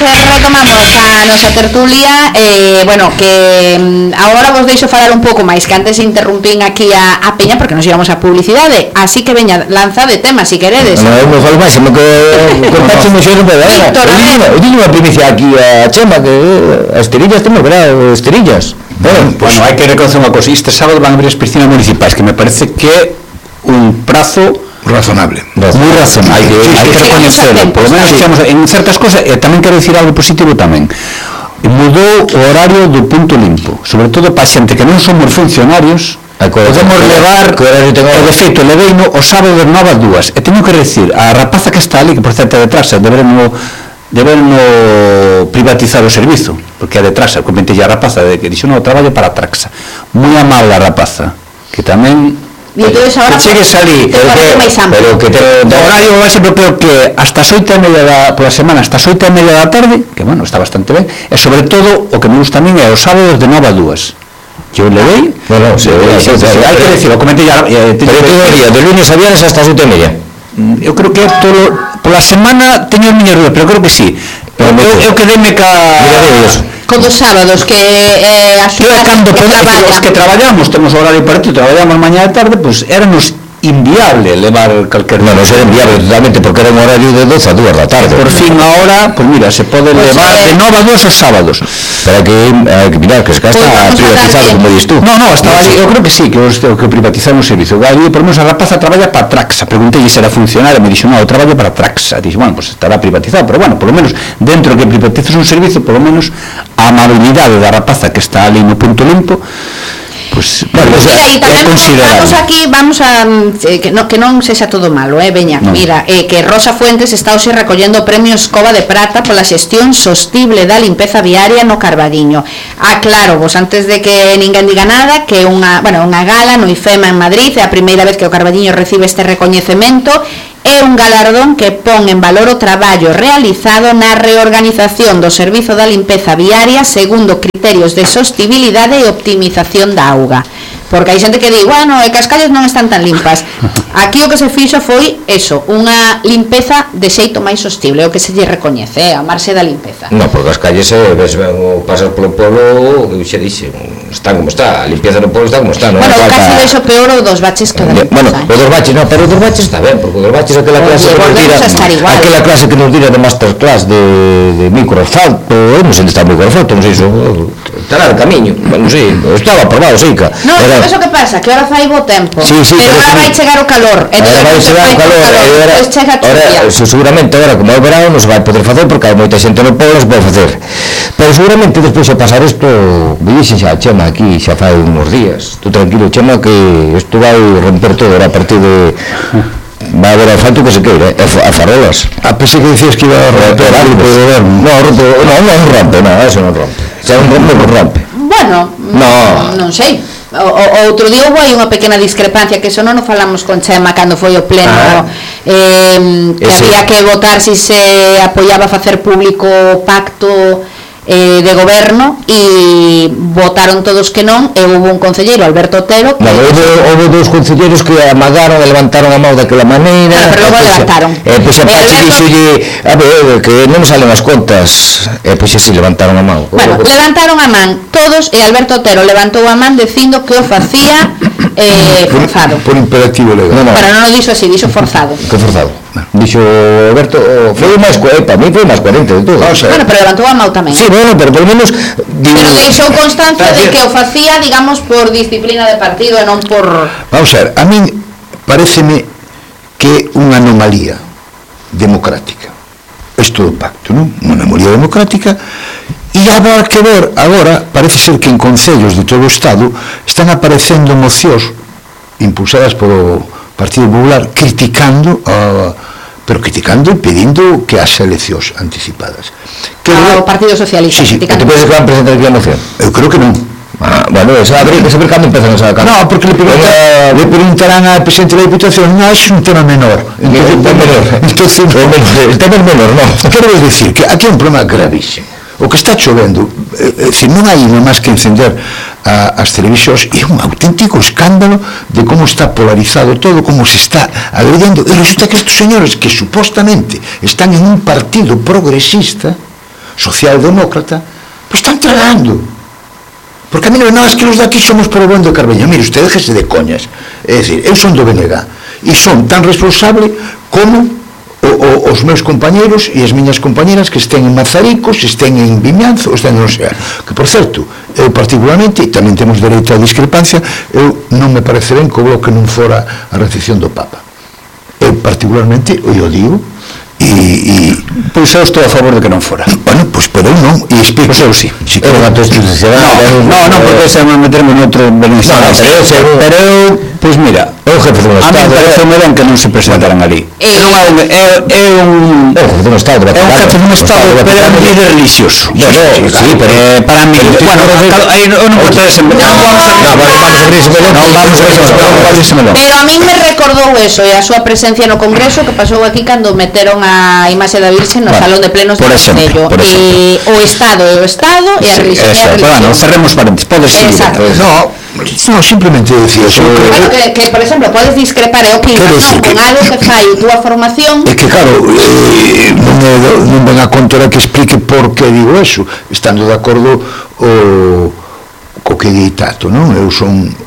retomamos a nosa tertulia. Bueno, que agora vos deixo falar un pouco máis, que antes interrumpín aquí a Peña porque nos íbamos a publicidade, así que veña, lanza de tema, si queredes. Non falo máis, me contaxe moi xero para ela. Eu digo unha primicia aquí a Chema, que as Esterillas temos grado, Esterillas. Bueno, hai que reconocer unha cosa, este sábado van a abrir as piscinas municipais, que me parece que é un prazo razonable, moi razonable, hai que reconocerlo, por lo menos estamos en certas cosas. E tamén quero dicir algo positivo tamén, mudou o horario do punto limpo, sobre todo para xente que non somos funcionarios. Podemos levar, de feito, leveino o sábado de 9 a 2, e teño que decir, a rapaza que está ali, que por certo é de Trasa, deberno privatizar o servizo, porque é de Trasa, comentei a rapaza que dixo, non, traballo para Traxa, moi amable a rapaza, que tamén que chegues ali, pero que o horario vai sempre peor, que hasta as 8:30 pola semana, hasta as 8:30 da tarde, que bueno, está bastante ben, e sobre todo o que me gusta a min é os sábados de 9 a 2, que eu levei, hai que decir, o comentei pero todo o día, de lunes a viernes hasta as 8:30. Eu creo que pola semana teño as miñas dúas, pero creo que sí. Eu quedeime con dos sábados, que as que traballamos, temos horario partido, traballamos mañá e tarde, pois éranos inviable levar calquer... Non era inviable totalmente, porque era un horario de 12 a 2 da tarde. Por fin ahora, pues mira, se pode levar de 9 a 2 os sábados. Pero que mirar, que está privatizado, como dis tú. Non, estaba ali, eu creo que sí, que privatizaron o servizo. Ali, por menos, a rapaza traballa para Traxa. Preguntei se era funcionario, me dixo, non, eu traballo para Traxa. Dixo, bueno, pues estará privatizado, pero bueno, por lo menos, dentro que privatizas un servizo, por lo menos, a amabilidade da rapaza que está ali no punto limpo, pues, bueno, mira, e tamén vamos aquí, vamos a que non sexa todo malo, veña, no. Mira, que Rosa Fuentes está hoxe recollendo o premio Escoba de Prata pola xestión sostible da limpeza viaria no Carballiño. Aclaro vos, antes de que ninguén diga nada, que unha gala no IFEMA en Madrid, é a primeira vez que o Carballiño recibe este recoñecemento. É un galardón que pon en valor o traballo realizado na reorganización do servizo da limpeza viaria segundo criterios de sostibilidade e optimización da auga. Porque hai xente que di, bueno, e que as calles non están tan limpas. Aquí o que se fixo foi eso, unha limpeza de xeito máis sostible, o que se lle recoñece, a marxe da limpeza. Non, porque as calles, pasas polo polo, que xe dixe, está como está, a limpieza do polo está como está. Bueno, casi deixo peor o dos baches que da limpeza. Bueno, o dos baches, non, pero o dos baches está ben, porque o dos baches é aquela clase que nos dira de masterclass de microasfalto, non sei onde está o microasfalto, non sei iso, estará de camiño, non sei, estaba aprobado, sei que... Non, eso que pasa, que ahora fai bo tempo, pero agora vai chegar o calor, depois chega a chuvia. Seguramente agora, como é o verano, non se vai poder facer, porque hai moita xente no polo, se pode facer, pero seguramente despois de pasar isto, dixen xa a Chema aquí, xa fai uns días, tú tranquilo, Chema, que isto vai romper todo, a partir de... vai haber asfalto que se queira, a farolas. Pensei que dicías que iba a romper algo do goberno. Non rompe, eso non rompe, xa non rompe, non rompe. Bueno, non sei. O outro día houve unha pequena discrepancia, que eso non o falamos con Chema cando foi o pleno, que había que votar se apoiaba facer público o pacto de goberno, e votaron todos que non, e houve un concelleiro, Alberto Otero, que... houve dous concelleiros que amagaron e levantaron a mão daquela maneira, pero logo levantaron, pois a Pachi dixolle, a ver, que non me salen as contas, e pois así levantaron a mão. Bueno, levantaron a man todos, e Alberto Otero levantou a man dicindo que o facía forzado. Por imperativo legal. Pero non o dixo así, dixo forzado. Que forzado? Dixo Alberto, foi máis para mí foi máis coherente de todo. Bueno, pero levantou a mão tamén. Sí, bueno, pero por lo menos... Pero deixou constancia de que o facía, digamos, por disciplina de partido e non por... Vamos a ver, a min pareceme que é unha anomalía democrática. Isto do pacto, non? Unha anomalía democrática. E habrá que ver, agora, parece ser que en concellos de todo o Estado están aparecendo mocións impulsadas polo Partido Popular criticando pero criticando e pedindo que haxa eleccións anticipadas. O Partido Socialista. Sí, que te podes que van presentar aquí a moción? Eu creo que non. Bueno, esa habría que saber cando empezan esa campaña. Non, porque le preguntarán ao presidente da Diputación, non, é un tema menor. El tema é menor, non. Quero decir que aquí é un problema gravísimo. O que está chovendo, non hai máis que encender as televisións, e é un auténtico escándalo de como está polarizado todo, como se está agrediendo, e resulta que estes señores que supostamente están en un partido progresista socialdemócrata, pois están tragando. Porque a mí non é que os daqui somos por o bon de Carbeño. Mire, usted déjese de coñas. É dicir, eu son do BNG e son tan responsable como os meus compañeros e as miñas compañeras que estén en Mazaricos, estén en Vimianzo, estén non sei. Que, por certo, eu particularmente, e tamén temos dereito a discrepancia, eu non me parece ben que o Bloque non fora a recepción do Papa. Eu particularmente, eu digo, e pois eu estou a favor de que non fora. Bueno, pois pero eu non, e explico. Pois eu sí. Non, porque se me meterme noutro beneficiario. Pero eu, pois mira, o jefe do Estado, a mí parece ben que non se presentaran ali. É un jefe do Estado, pero é un líder religioso. Sí, pero para mí, bueno, aí non vamos a pero a mí me recordou eso e a súa presencia no Congreso que pasou aquí cando meteron a imaxe da Virxe no Salón de Plenos do Concello. O Estado e a religión é a religión. Bueno, cerremos paréntesis, podes seguir. No, simplemente decía eso. Que, por exemplo, podes discrepar e opinar con algo que fai túa formación. É que, claro, non ven a contora que explique por que digo eso, estando de acordo co que di Tato, non? Eu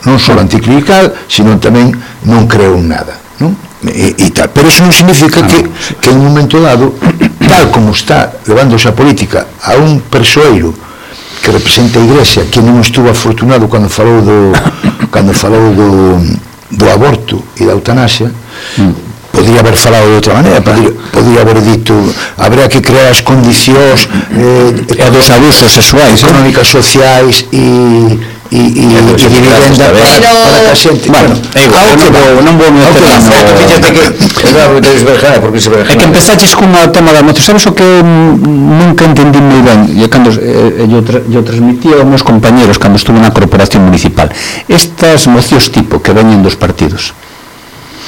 non só anticlerical, sino tamén non creo en nada, non? E tal, pero eso non significa que en un momento dado, tal como está levándose a política a un persoeiro que representa a Iglesia, que non estuvo afortunado cando falou do aborto e da eutanasia, podría haber falado de outra maneira, podría haber dito habría que crear as condicións dos abusos sexuais, económicas, sociais e vivenda para que a xente, bueno, non vou meter é que empezaches cunha tema da moción. Sabes o que nunca entendí moi ben, e cando eu transmitía aos meus compañeros cando estuve na corporación municipal, estas mocións tipo que veñen dos partidos,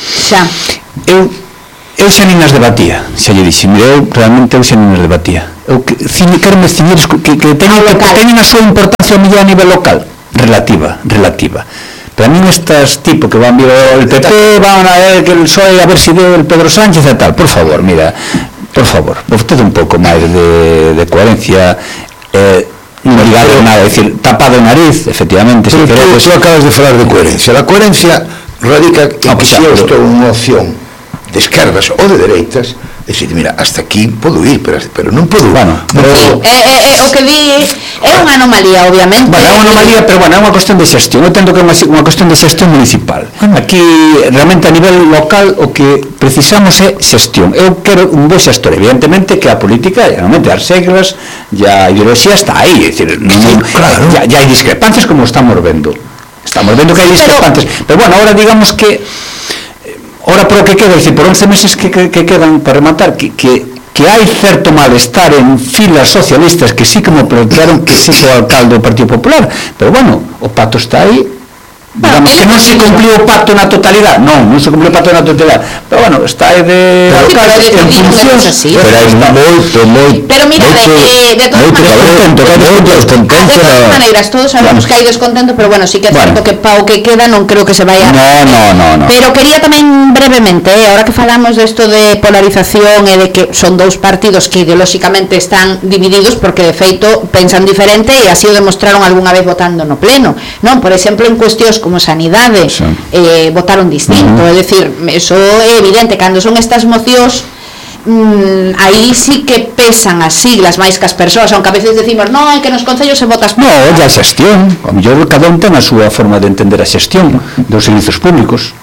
xa eu xa nin as debatía, xa lle dixi, eu realmente xa nin as debatía. Eu quero me ciñir que teñen a súa importancia a nivel local, relativa. Pero a mí estas tipo que van vir el PP, van a ver que el PSOE a ver si deu el Pedro Sánchez e tal, por favor, mira, por favor, vostede un pouco máis de coherencia, non ligado nada, é dicir, tapado o nariz, efectivamente. Pero tú acabas de falar de coherencia. A coherencia radica en que se eu estou en unha opción de esquerdas ou de dereitas, é dicir, mira, hasta aquí podo ir, pero non podo. Bueno, o que di é unha anomalía, obviamente. Bueno, é unha anomalía, pero bueno, é unha cuestión de xestión. Eu tento que é unha cuestión de xestión municipal. Aquí, realmente, a nivel local, o que precisamos é xestión. Eu quero un bo xestor, evidentemente, que a política, realmente, as reglas, e a ideoloxía está aí, é dicir, ya hai discrepancias como estamos vendo. Estamos vendo que hai discrepancias. Pero bueno, ahora digamos que ora por o que queda, por 11 meses que quedan para rematar, que hai certo malestar en filas socialistas que sí que me plantearon que sí que o alcalde do Partido Popular, pero bueno, o pacto está aí, digamos que non se cumpliu o pacto na totalidade, non se cumpliu o pacto na totalidade, pero bueno, está aí de alcalde en funcións, pero hai moito, pero mira, de todas maneiras, todos sabemos que hai descontento, pero bueno, sí que é certo que pa o que queda non creo que se vaya. No. Pero quería tamén brevemente, ahora que falamos desto de polarización e de que son dous partidos que ideolóxicamente están divididos porque de feito pensan diferente e así o demostraron algunha vez votando no pleno, non? Por exemplo, en cuestións como sanidade votaron distinto, é dicir, eso é evidente, cando son estas mocións aí sí que pesan as siglas máis que as persoas, aunque a veces decimos non, é que nos concellos se votas é a xestión, a mellor cada un ten a súa forma de entender a xestión dos servizos públicos.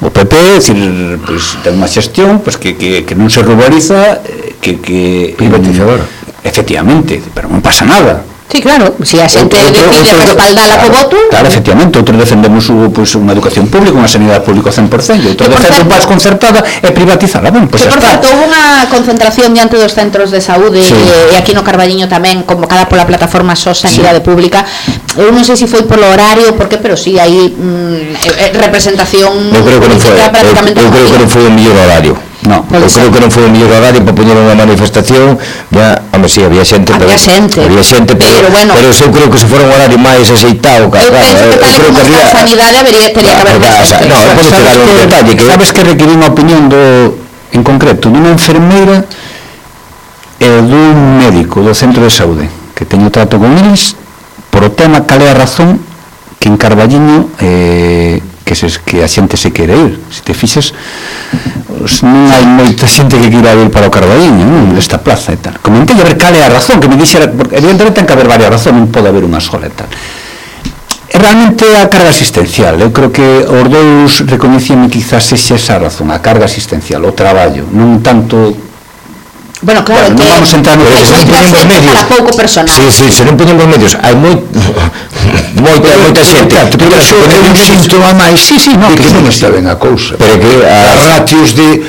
O PP, decir, pues, ten unha xestión pues, que non se ruboriza, que privatizadora, efectivamente, pero non pasa nada. Sí, claro, se a xente decide respaldala co voto. Claro, efectivamente, outros defendemos unha educación pública, unha sanidade pública 100%, outros defendemos máis concertada e privatizada. Bueno, pues que por certo, houve unha concentración diante dos centros de saúde e aquí no Carballiño tamén, convocada pola plataforma SOS Sanidade Pública. Eu non sei se foi polo horario, porque, pero sí, hai representación. Eu creo que non foi o mellor horario. No, eu creo que non foi o mellor horario para poñer unha manifestación, si había xente, pero bueno, pero eu creo que se fora un horario máis aceitado, eu penso que tal como está a sanidade teria que haber máis gente. Sabes que requirí unha opinión en concreto dunha enfermeira e dun médico do centro de saúde que teño trato con eles por o tema cal é a razón que en Carballiño que a xente se quere ir. Se te fixes, non hai moita xente que queira ir para o Carballiño, non? Desta plaza e tal. Comentei a ver cal é a razón, que me dixera, porque evidentemente ten que haber varias razóns, non pode haber unha sola e tal. Realmente a carga asistencial, eu creo que os dous recoñecían quizás sexa esa razón, a carga asistencial, o traballo, non tanto. Bueno, claro, non vamos a entrar no que se non poñemos medios para pouco personal. Sí, se non poñemos medios, hai moita xente, pero iso é un síntoma máis de que non está ben a cousa, pero que as ratios de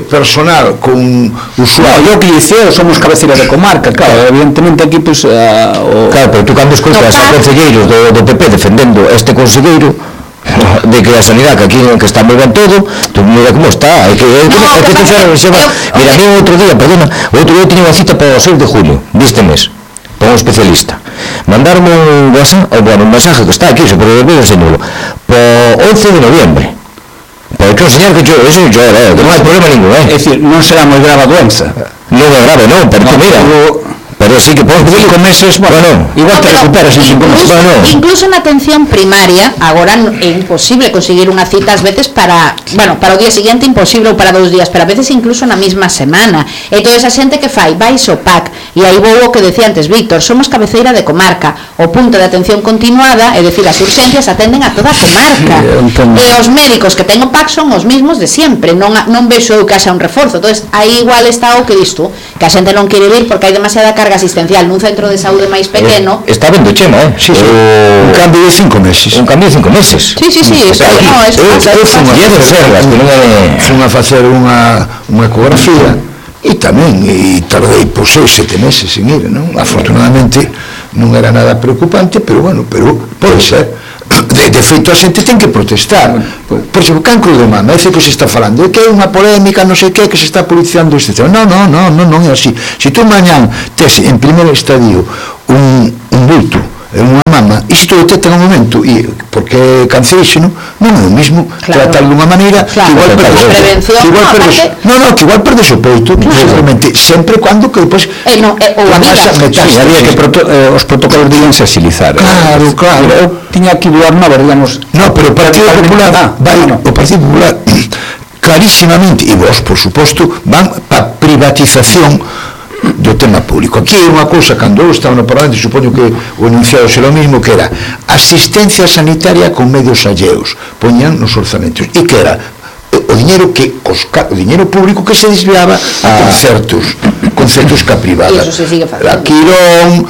personal con usuario, eu que dicía, somos cabeceira de comarca, claro, evidentemente aquí pues claro, pero tú cando escoitas a concelleiros do PP defendendo este conselleiro de que a sanidade, que aquí que está moi ben todo, tú mira como está, mira, outro día tiña unha cita para o 6 de junio deste mes, para un especialista, mandaronme un WhatsApp, un mensaje que está aquí, se pode ver, enseñolo, para 11 de noviembre, para que enseñar que eso non hai problema ningún, é dicir, non será moi grave a doenza, non é grave, non, pero mira, pero sí que por 5 meses, bueno, igual te recuperas en 5 meses. Incluso na atención primaria, agora é imposible conseguir unha cita ás veces para o día seguinte imposible ou para 2 días, pero a veces incluso na mesma semana. E toda esa xente que fai, vai ao PAC, e aí vou o que decía antes Víctor, somos cabeceira de comarca, o punto de atención continuada, é dicir, as urxencias atenden a toda a comarca, e os médicos que ten o PAC son os mesmos de sempre, non vexo eu que haxa un reforzo. Entonces, aí igual está o que dis tú, que a xente non quere vir porque hai demasiada carga asistencial nun centro de saúde máis pequeno. Está vendo Chema, sí. Un cambio de 5 meses. Un cambio de 5 meses. Sí, fun a facer unha ecografía e tamén tardei por 6-7 meses en ir, non? Afortunadamente non era nada preocupante, pero pode ser. De feito, a xente ten que protestar. Por exemplo, cancro de mama, é que se está falando de que é unha polémica, non sei que se está politizando este tema. Non é así. Se tú mañán tes en primeiro estadio un bulto en unha mama, e se tú detectas un momento porque é canceríxeno, non é o mismo tratar de unha maneira que igual perdes o peito, realmente, sempre cando que depois ou a vida. Había que os protocolos deben se agilizar. Claro. Eu tiña aquí do Arnova, digamos. No, pero o Partido Popular clarísimamente, e vos, por suposto, van para privatización do tema público. Aquí é unha cousa, cando eu estaba no Parlamento, supoño que o enunciado será o mismo, que era asistencia sanitaria con medios alleos, poñan nos orzamentos, e que era o dinero público que se desviaba a concertos que a privada. E iso se sigue facendo. La Quirón,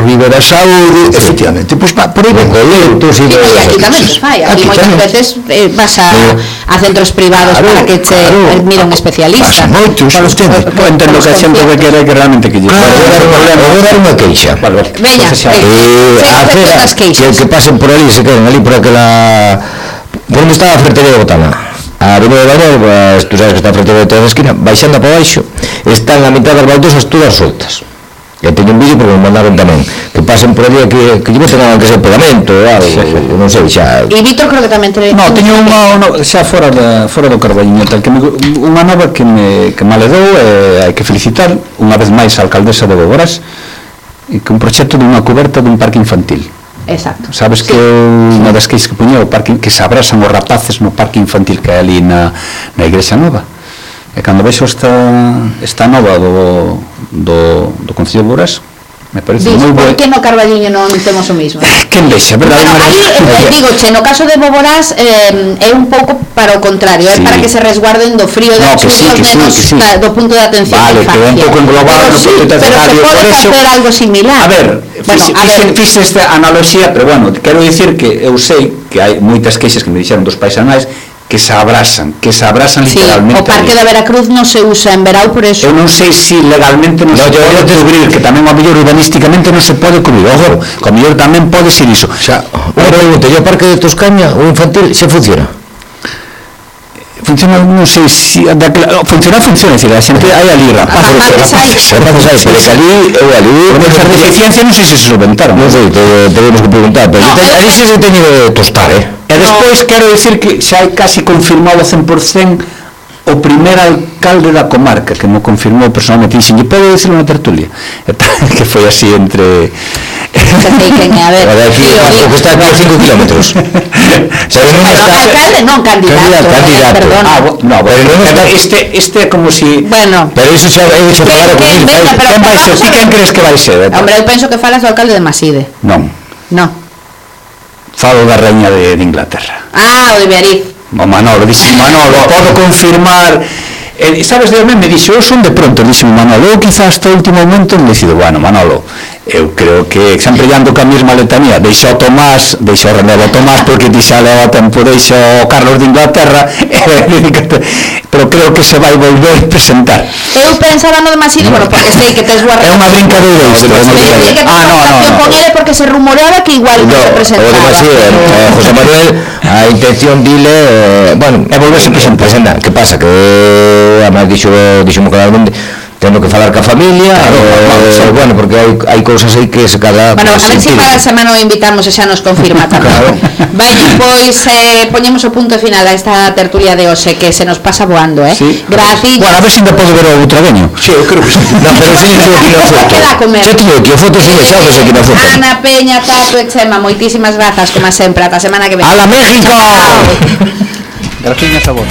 Rivera Saúde, efectivamente, pois por aí ven coletos e aquí tamén se fai, aquí moitas veces vas a centros privados para que che mire un especialista. Moitos, entendo que a xente que quere que realmente que lle vou dar unha queixa. Veña, que pasen por ali, se queden ali por aquela, por onde está a ferretería de Botana, a Avenida de Bañar, tú sabes que está a ferretería de toda a esquina, baixando para baixo, están a mitad das baldosas todas soltas. Eu teño un vídeo porque me mandaron tamén, que pasen por ali, que lle boten que ser pegamento ou algo, non sei, xa. E Víctor creo que tamén teño unha xa fora do Carballiño, tal que unha nova que me aledou, hai que felicitar unha vez máis a alcaldesa de Boborás, e que un proxecto dunha coberta dun parque infantil. Exacto. Sabes que unha das queixas que puñeu o parque, que se abrasan os rapaces no parque infantil que hai ali na Igrexa Nova. E cando vexo esta nova do Concello de Boborás, me parece moi bo. Por que no Carballiño non temos o mismo? Que envexa, verdade? Digo, no caso de Boborás é un pouco para o contrario, é para que se resguarden do frío de os nenos do punto de atención da infancia. Vale, que é un pouco englobado no punto de atención. Pero se pode facer algo similar. A ver, fixe esta analogía, pero bueno, quero dicir que eu sei que hai moitas queixas que me dixeron dos paisanais que se abrasan literalmente. O Parque da Veracruz non se usa en verao por eso. Eu non sei se legalmente non se pode cubrir, que tamén a mellor urbanísticamente non se pode cubrir. Ojo, que a mellor tamén pode ser iso. Xa, o Parque de Toscaña, o infantil, se funciona? Funciona, non sei se funciona, é dicir, a xente hai ali rapaces hai, pero que ali esa deficiencia non sei se solventaron. Non sei, tenemos que preguntar, pero ali se teño de tostar, E despois quero dicir que xa hai casi confirmado 100% o primer alcalde da comarca, que me confirmou personalmente, dixen, pode decirlo na tertulia, que foi así entre... A ver, o que está aquí a 5 kilómetros. Alcalde non, candidato. No, pero este é como si... Bueno, pero iso xa é hecho falar con quen vai ser? Ti quen crees que vai ser? Hombre, eu penso que falas do alcalde de Maside. Non. Falo da reina de Inglaterra. O de Beariz. O Manolo, dixo Manolo, podo confirmar. Sabes, Dios me dixo, eu son de pronto, dixo Manolo, eu quizás hasta o último momento me dicido, bueno, Manolo, eu creo que sempre ando ca mesma letanía, deixo o Tomás, deixo o relevo Tomás, porque ti xa leva tempo, deixo o Carlos de Inglaterra, pero creo que se vai volver a presentar. Eu pensaba no de Maside, bueno, porque sei que tes boa relación. É unha brincadeira isto. No. Con ele porque se rumoreaba que igual non se presentaba. O de Maside, José Manuel, a intención dile, bueno, é volverse a presentar. Que pasa? Que además dixo-mo claramente, tendo que falar ca familia, bueno, porque hai cousas aí que se cada... Bueno, a ver se para a semana o invitamos e xa nos confirma tamén. Veña, pois poñemos o punto final a esta tertulia de hoxe, que se nos pasa voando, Gracias. Bueno, a ver se ainda pode ver o outragueño. Sí, eu creo que sí. No, pero sí, aquí na foto. Xa tiño aquí a foto, sí, xa ves aquí na foto. Ana, Peña, Tato e Chema, moitísimas grazas, como sempre, ata a semana que ven. ¡Hala, México! Gracias a vos.